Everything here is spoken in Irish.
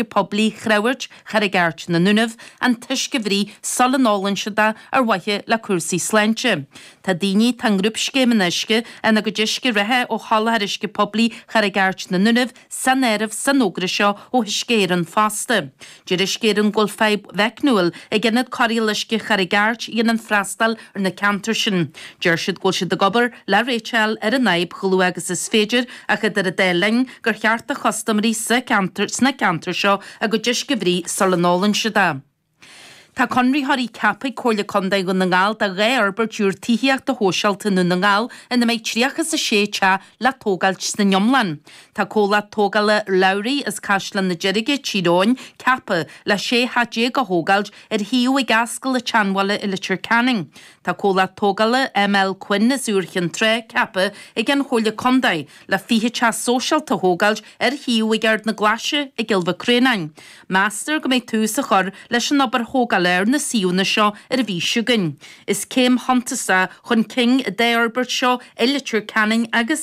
Poiblí Chreamhairt Charraig Airt na nDúnaibh an t-uisce a bhruith sula n-ólann siad é ar mhaithe le cúrsaí sláinte. Tá daoine atá i ngrúpscéim an uisce ina gcuid uisce reatha ó sholáthar uisce poiblí Charraig Airt na nDúnaibh san áireamh san fhógra seo ó Uisce Éireann fosta. Deir Uisce Éireann go bhfuil fadhb mheicniúil ag ionad cóireáil uisce Charraig Airt a dhéanann freastal ar na ceantair sin. Deir siad go bhfuil siad ag obair le réiteach a fháil ar an fhadhb chomh luath agus is féidir ach idir an dá linn gur cheart do chustaiméirí sa cheantar sna ceantair seo a gcuid uisce a bhruith sula n-ólann siad é. Tá conraitheoirí ceaptha ag Comhairle Contae Dhún na nGall do 2 fhorbairt úr tithíochta shóisialta i nDún na nGall ina mbeidh 36 teach le tógáilt san iomlán. Tá comhlacht tógála Lowry as Caisleán na Deirge, Tír Eoghain, ceaptha le 16 theach a thógáilt ar shuíomh ag Ascaill an tSeanbhaile i Leitir Ceanainn. Tá comhlacht tógála ML Quinn as Iúr Chinn Trá ceaptha ag an Chomhairle Contae le 20 teach sóisialta a thógáilt ar shuíomh ag Ard na Glaise i gCill Mhic Réanáin. Meastar go mbeidh tús á chur leis an obair thógála ar na suíomhanna seo ar an mhí seo chugainn. Is céim shuntasach chun cinn an dá fhorbairt seo i Leitir Ceanainn agus.